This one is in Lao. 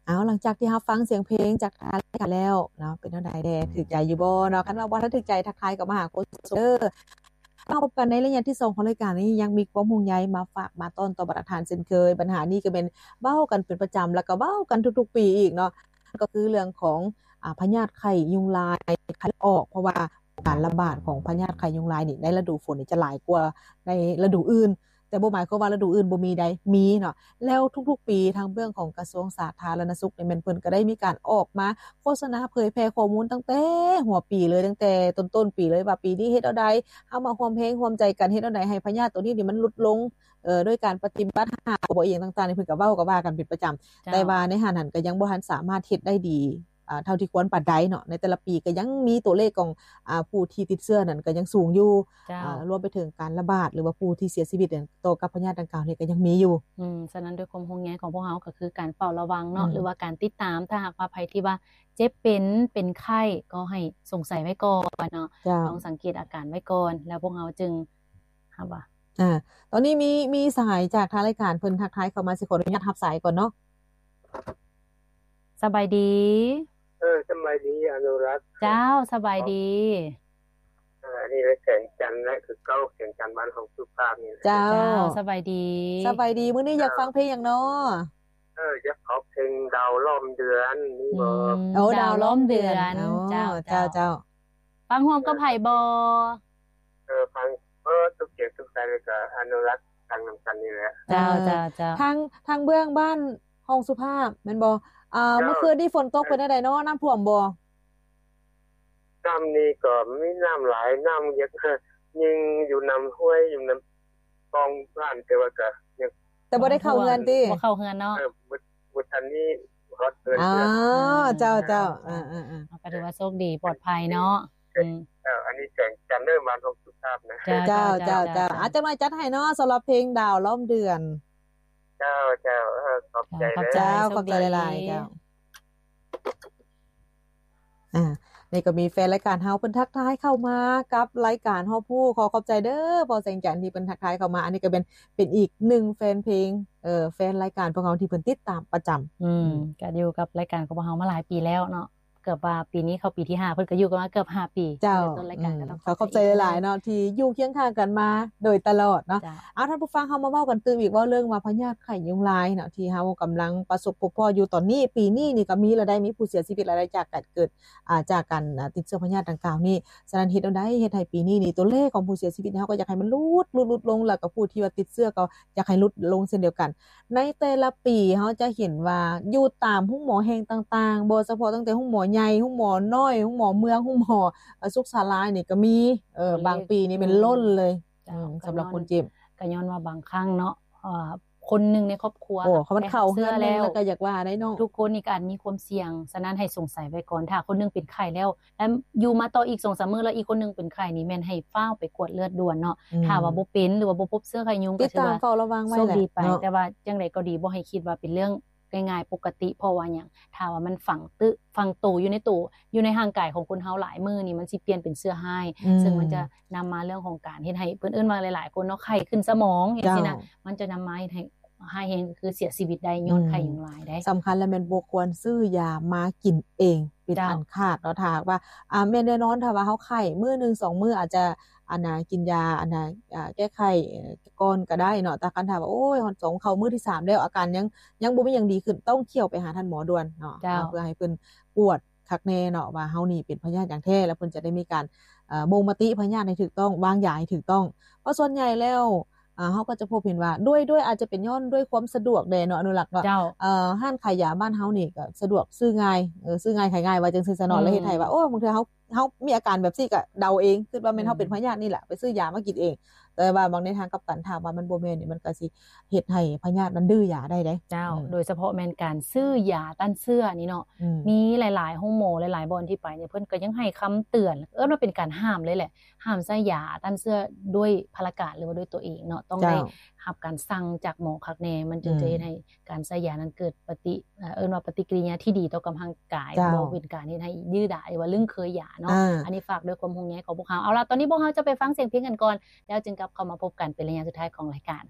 ເອົາ ຫຼັງຈາກທີ່ຮັບຟັງສຽງເພງຈາກທາງລາຍການແລ້ວເນາະ ເປັນແນວໃດແດ່? ຖືກໃຈຢູ່ບໍ່ເນາະ? ຄັນວ່າບໍ່ທັນຖືກໃຈ ທັກທາຍເຂົ້າມາຫາໂຄສົກເດີ. ມາພົບກັນໃນໄລຍະທີສອງຂອງລາຍການນີ້ ຍັງມີຄວາມຫ່ວງໃຍມາຝາກມາຕ້ອນຕໍ່ບັນດາທ່ານເຊັ່ນເຄີຍ. ບັນຫານີ້ກໍແມ່ນເວົ້າກັນເປັນປະຈຳ ແລ້ວກໍເວົ້າກັນທຸກໆປີອີກເນາະ, ກໍຄືເລື່ອງຂອງ ອາ ພະຍາດໄຂ້ຍຸງລາຍ ໄຂ້ເລືອດອອກ ເພາະວ່າການລະບາດຂອງພະຍາດໄຂ້ຍຸງລາຍນີ້ ໃນລະດູຝົນນີ້ຈະຫຼາຍກວ່າໃນລະດູອື່ນ. ແຕ່ບໍ່ໝາຍຄວາມວ່າລະດູອື່ນບໍ່ມີໃດ໋ ມີເນາະ. ແລ້ວທຸກໆປີ ທາງເບື້ອງຂອງກະຊວງສາທາລະນະສຸກນີ້ ແມ່ນເພິ່ນກໍໄດ້ມີການອອກມາໂຄສະນາເຜີຍແຜ່ຂໍ້ມູນຕັ້ງແຕ່ຫົວປີເລີຍ, ຕັ້ງແຕ່ຕົ້ນໆປີເລີຍ ວ່າປີນີ້ເຮັດແນວໃດ ເຮົາມາຮ່ວມແຮງຮ່ວມໃຈກັນເຮັດແນວໃດໃຫ້ພະຍາດໂຕນີ້ນີ້ມັນຫຼຸດລົງ ເອີ ໂດຍການປະຕິບັດຫ້າ ກບ ອີ່ຫຍັງຕ່າງໆນີ້ ເພິ່ນກໍເວົ້າກໍວ່າກັນເປັນປະຈຳ. ເຈົ້າ. ແຕ່ວ່າໃນຫັ້ນຫັ້ນກໍຍັງບໍ່ທັນສາມາດເຮັດໄດ້ດີ ອ່າ ເທົ່າທີ່ຄວນປານໃດເນາະ. ໃນແຕ່ລະປີກໍຍັງມີຕົວເລກຂອງ ອ່າ ຜູ້ທີ່ຕິດເຊື້ອນັ້ນກໍຍັງສູງຢູ່. ເຈົ້າ. ອ່າ ລວມໄປເຖິງການລະບາດ ຫຼືວ່າຜູ້ທີ່ເສຍຊີວິດຕໍ່ກັບພະຍາດດັ່ງກ່າວນີ້ກໍຍັງມີຢູ່. ອືມ ສະນັ້ນດ້ວຍຄວາມຫ່ວງໃຍຂອງພວກເຮົາກໍຄືການເຝົ້າລະວັງເນາະ ອືມ ຫຼືວ່າການຕິດຕາມ. ຖ້າຫາກວ່າໃຜທີ່ວ່າເຈັບເປັນ ເປັນໄຂ້ ກໍໃຫ້ສົງໄສໄວ້ກ່ອນເນາະ. ເຈົ້າ. ຕ້ອງສັງເກດອາການໄວ້ກ່ອນ ແລ້ວພວກເຮົາຈຶ່ງ ຮັບວ່າ ອ່າ ຕອນນີ້ມີ ມີສາຍຈາກທາງລາຍການເພິ່ນທັກທາຍເຂົ້າມາ ຊິຂໍອະນຸຍາດຮັບສາຍກ່ອນເນາະ. ສະບາຍດີ. ເອີ ສະບາຍດີອະນຸລັກ. ເຈົ້າ ສະບາຍດີ. ເອີ ອັນນີ້ແຫຼະ ແສງຈັນນະ ຄືເກົ່າ ແສງຈັນບ້ານຫ້ອງສຸພາບນີ້ແຫຼະ. ເຈົ້າ. ເຈົ້າ ສະບາຍດີ. ສະບາຍດີ. ມື້ນີ້ຢາກ ເຈົ້າ ຟັງເພງຫຍັງເນາະ? ເອີ ຢາກຟັງເພງດາວລ້ອມເດືອນ ມີບໍ່? ອືມ ໂອ້ ດາວ ດາວລ້ອມເດືອນ. ອໍ ເຈົ້າ ເຈົ້າ ເຈົ້າ ເຈົ້າ. ຟັງຮ່ວມກັບໃຜບໍ່? ເອີ ຟັງເບິດທຸກສຽງທຸກສາຍ ແລ້ວກໍອະນຸລັກຟັງນຳກັນນີ້ແຫຼະ. ເຈົ້າ ເຈົ້າ ເຈົ້າ. ທາງ ທາງເບື້ອງບ້ານຫ້ອງສຸພາບແມ່ນບໍ່? ອ່າ ເຈົ້າ. ເມື່ອຄືນນີ້ຝົນຕົກເປັນແນວໃດເນາະ? ນ້ຳຖ້ວມບໍ່? ນ້ຳນີ້ກໍມີນ້ຳຫຼາຍ ນ້ຳຍັງ ຍິງຢູ່ນຳຫ້ວຍ ຢູ່ນຳ ສອງບ້ານ ແຕ່ວ່າກໍຍັງ ແຕ່ບໍ່ໄດ້ເຂົ້າເຮືອນຕິ? ບໍ່ເຂົ້າເຮືອນເນາະ. ເອີ ບໍ່ ບໍ່ທັນມີຮອດເຮືອນເທື່ອ. ອໍ ເຈົ້າ ເຈົ້າ. ເອີ ເອີ ເອີ ເອີ ກໍຖືວ່າໂຊກດີ ປອດໄພເນາະ. ເອີ ອືມ ເອີ ອັນນີ້ແສງຈັນເດີ ບ້ານຫ້ອງສຸພາບນະ. ເຈົ້າ ເຈົ້າ ເຈົ້າ ເຈົ້າ. ອາ ຈັກໜ້ອຍຈັດໃຫ້ເນາະ ສຳລັບເພງດາວລ້ອມເດືອນ. ເຈົ້າ ເຈົ້າ. ເອີ ຂອບໃຈ. ເຈົ້າ ຂອບໃຈ. ເຈົ້າ ໂຊກດີ ຂອບໃຈຫຼາຍໆ. ເຈົ້າ. ອ່າ ນີ້ກໍມີແຟນລາຍການເຮົາເພິ່ນທັກທາຍເຂົ້າມາກັບລາຍການຮອບຮູ້. ຂໍຂອບໃຈເດີພໍ່ແສງຈັນທີ່ເພິ່ນທັກທາຍເຂົ້າມາ. ອັນນີ້ກໍເປັນ ເປັນອີກໜຶ່ງແຟນເພງ ເອີ ແຟນລາຍການພວກເຮົາທີ່ເພິ່ນຕິດຕາມປະຈຳ. ອືມ ອືມ ກໍຢູ່ກັບລາຍການຂອງພວກເຮົາມາຫຼາຍປີແລ້ວເນາະ. ເກືອບວ່າປີນີ້ເຂົ້າປີທີຫ້າ ເພິ່ນກໍຢູ່ກັນມາເກືອບຫ້າປີ. ເຈົ້າ. ແລ້ວຕົ້ນລາຍການ ອືມ ກໍຕ້ອງຂອບໃຈ ເຈົ້າ ຫຼາຍໆເນາະ ທີ່ຢູ່ຄຽງຂ້າງກັນມາໂດຍຕະຫຼອດເນາະ. ເຈົ້າ. ເອົາ ທ່ານຜູ້ຟັງ ເຮົາມາເວົ້າກັນຕື່ມອີກ ເວົ້າເລື່ອງວ່າພະຍາດໄຂ້ຍຸງລາຍເນາະ ທີ່ເຮົາກຳລັງປະສົບພົບພໍ້ຢູ່ຕອນນີ້. ປີນີ້ນີ້ກໍມີລະໄດ້ ມີຜູ້ເສຍຊີວິດລະໄດ້ຈາກການເກີດ ອ່າ ຈາກການ ອ່າ ຕິດເຊື້ອພະຍາດດັ່ງກ່າວນີ້. ສະນັ້ນເຮັດແນວໃດເຮັດໃຫ້ປີນີ້ນີ້ຕົວເລກຂອງຜູ້ເສຍຊີວິດ ເຮົາກໍຢາກໃຫ້ມັນຫຼຸດ ຫຼຸດ ຫຼຸດລົງ ແລ້ວກໍຜູ້ທີ່ວ່າຕິດເຊື້ອກໍຢາກໃຫ້ຫຼຸດລົງເຊັ່ນດຽວກັນ. ໃນແຕ່ລະປີເຮົາຈະເຫັນວ່າຢູ່ຕາມໂຮງໝໍແຫ່ງຕ່າງໆ ບໍ່ສະເພາະຕັ້ງແຕ່ໂຮງໝໍໃຫຍ່ ໂຮງໝໍນ້ອຍ ໂຮງໝໍເມືອງ ໂຮງໝໍ ເອີ ສຸກສາລານີ້ກໍມີ. ເອີ ຕົວເລກ ບາງປີນີ້ແມ່ນລົ້ນເລີຍ. ເຈົ້າ. ອືມ ສຳລັບຄົນເຈັບ ກໍຍ້ອນວ່າບາງຄັ້ງເນາະ ເອີ ຄົນໜຶ່ງໃນຄອບຄົວ ໂອ້ ຄັນມັນເຂົ້າເຮືອນໜຶ່ງແລ້ວກໍຢາກວ່າໄດ໋ເນາະ. ທຸກຄົນນີ້ກໍອາດມີຄວາມສ່ຽງ. ສະນັ້ນໃຫ້ສົງໄສໄວ້ກ່ອນ ຖ້າຄົນໜຶ່ງເປັນໄຂ້ແລ້ວ ແລ້ວຢູ່ມາຕໍ່ອີກສອງສາມມື້ ແລ້ວອີກຄົນໜຶ່ງເປັນໄຂ້ນີ້ ແມ່ນໃຫ້ຟ້າວໄປກວດເລືອດດ່ວນເນາະ. ອືມ ຖ້າວ່າບໍ່ເປັນ ຫຼືວ່າບໍ່ພົບເຊື້ອໄຂ້ຍຸງ ກໍຖືວ່າ ຕິດຕາມເຝົ້າລະວັງໄວ້ແຫຼະ ໂຊກດີໄປເນາະ. ແຕ່ວ່າຈັ່ງໃດກໍດີ ບໍ່ໃຫ້ຄິດວ່າເປັນເລື່ອງງ່າຍໆ ປົກກະຕິ. ເພາະວ່າຫຍັງ? ຖ້າວ່າມັນຝັງຕຶ ຝັງໂຕຢູ່ໃນໂຕ ຢູ່ໃນຮ່າງກາຍຂອງຄົນເຮົາຫຼາຍມື້ນີ້ ມັນຊິປ່ຽນເປັນເຊື້ອຮ້າຍ. ອືມ ເຊິ່ງມັນຈະນຳມາເລື່ອງຂອງການເຮັດໃຫ້ ເພິ່ນເອີ້ນວ່າຫຼາຍໆຄົນເນາະ ໄຂ້ຂຶ້ນສະໝອງ ເຈົ້າ ຈັ່ງຊີ້ນະ. ມັນຈະນຳມາເຮັດໃຫ້ ຮ້າຍແຮງກໍຄືເສຍຊີວິດໄດ້ຍ້ອນ ອືມ ໄຂ້ຍຸງລາຍໄດ້. ສຳຄັນແລ້ວແມ່ນບໍ່ຄວນຊື້ຢາມາກິນເອງເປັນ ເຈົ້າ ອັນຂາດເນາະ. ຖ້າຫາກວ່າ ອ່າ ແມ່ນແນ່ນອນ ຖ້າວ່າເຮົາໄຂ້ມື້ໜຶ່ງສອງມື້ ອາດຈະ ອັນນ່າ ກິນຢາ ອັນນ່າ ອ່າ ແກ້ໄຂ້ ເອີ ກ່ອນກໍໄດ້ເນາະ. ແຕ່ຄັນຖ້າວ່າ ໂອ້ຍ ຮອດສອງ ເຂົ້າມື້ທີສາມແລ້ວ ອາການຍັງ ຍັງບໍ່ມີຫຍັງດີຂຶ້ນ ຕ້ອງຂ້ຽວໄປຫາທ່ານໝໍດ່ວນເນາະ. ເຈົ້າ. ເພື່ອໃຫ້ເພິ່ນກວດ ຄັກແນ່ເນາະ ວ່າເຮົານີ້ເປັນພະຍາດຫຍັງແທ້ ແລ້ວເພິ່ນຈະໄດ້ມີການ ເອີ ບົ່ງມະຕິພະຍາດໃຫ້ຖືກຕ້ອງ ວາງຢາໃຫ້ຖືກຕ້ອງ. ເພາະສ່ວນໃຫຍ່ແລ້ວ ເອີ ເຮົາກໍຈະພົບເຫັນວ່າ ດ້ວຍ ດ້ວຍ ອາດຈະເປັນຍ້ອນດ້ວຍຄວາມສະດວກແດ່ເນາະ ອະນຸລັກເນາະ. ເຈົ້າ. ເອີ ຮ້ານຂາຍຢາບ້ານເຮົານີ້ກໍສະດວກ ຊື້ງ່າຍ ເອີ ຊື້ງ່າຍຂາຍງ່າຍ ວ່າຈັ່ງຊີ້ຊະເນາະ. ອືມ ແລ້ວເຮັດໃຫ້ວ່າ ໂອ້ ບາງເທື່ອເຮົາ ເຮົາມີອາການແບບຊີ້ກໍເດົາເອງ ຄິດວ່າແມ່ນເຮົາເປັນ ອືມ ພະຍາດນີ້ແຫຼະ ໄປຊື້ຢາມາກິນເອງ. ແຕ່ວ່າບາງໃນທາງກັບກັນ ຖ້າວ່າມັນບໍ່ແມ່ນນີ້ ມັນກໍຊິເຮັດໃຫ້ພະຍາດມັນດື້ຢາໄດ້ເດ້. ເຈົ້າ. ອືມ ໂດຍສະເພາະແມ່ນການຊື້ຢາຕ້ານເຊື້ອນີ້ເນາະ. ອືມ ມີຫຼາຍໆໂຮງໝໍ ຫຼາຍໆບ່ອນທີ່ໄປນີ້ ເພິ່ນກໍຍັງໃຫ້ຄຳເຕືອນ ເອີ້ນວ່າເປັນການຫ້າມເລີຍແຫຼະ ຫ້າມໃຊ້ຢາຕ້ານເຊື້ອດ້ວຍພາລະການ ຫຼືວ່າດ້ວຍຕົວເອງເນາະ. ຕ້ອງໄດ້ ເຈົ້າ ຮັບການສັ່ງຈາກໝໍຄັກແນ່ ມັນຈຶ່ງ ອືມ ຈະເຮັດໃຫ້ການໃຊ້ຢານັ້ນເກີດປະຕິ ເອີ ເອີ້ນວ່າປະຕິກິລິຍາທີ່ດີຕໍ່ກັບຮ່າງກາຍ ເຈົ້າ ບໍ່ເປັນການເຮັດໃຫ້ດື້ດາຍ ຫຼືວ່າລຶ້ງເຄີຍຢາເນາະ. ອ່າ ອັນນີ້ຝາກດ້ວຍຄວາມຫ່ວງໃຍຂອງພວກເຮົາ. ເອົາລະ ຕອນນີ້ພວກເຮົາຈະໄປຟັງສຽງເພງກັນກ່ອນ ແລ້ວຈຶ່ງກັບເຂົ້າມາພົບກັນເປັນໄລຍະສຸດທ້າຍຂອງລາຍການ.